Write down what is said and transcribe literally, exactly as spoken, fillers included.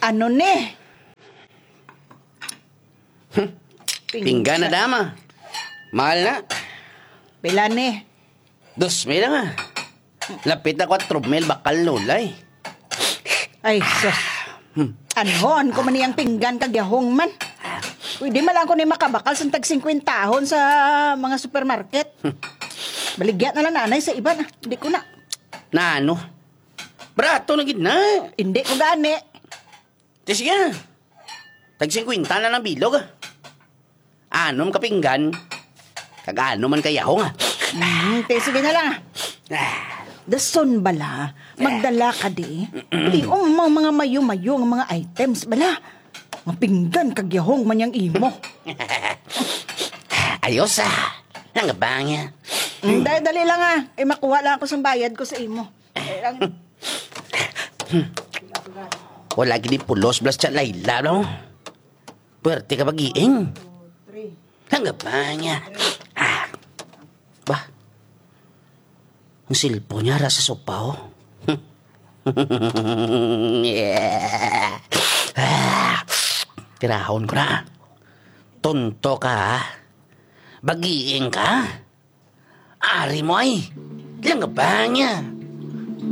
Ano ni? Pinggan na, dama. Mahal na. Pila ni? Dos mil lang, ah. Lapit na kwatro mil, bakal, lulay. Ay, sus. Hmm. Anhon ko man niyang pinggan kag yahong man. Pwede man lang ko ni makabakal sang tag singkwentahon sa mga supermarket. Hmm. Baligya na lang, nanay, sa iban, ah. Hindi ko na. Na ano? Barato na gid na. Hindi ko gani. Di sige na. Tag singkwenta na lang bilog, ah. Anom ka pinggan, kag anom man ka yahong, ah. Mm, te, sige na lang, ah. Ah. Dason bala, magdala ka di. Di um, mga, mga mayo-mayo nga mga items bala. Mga pinggan kag yahong man yang imo. Ayos, ah. Nangabang, ah. Mm, dali, dali lang, ah. Eh, makuha lang ako sang bayad ko sa imo. Eh, ang Wala gid ni pulos, blas siya, Layla, no? Puwerte ka, bagiing. Hangga pa niya. Ah. Ba? Ang cellphone niya, ra sa sopa, oh. Ah. Tirahon ko na. Tonto ka, ha? Bagiing ka? Ari mo ay, langabang niya.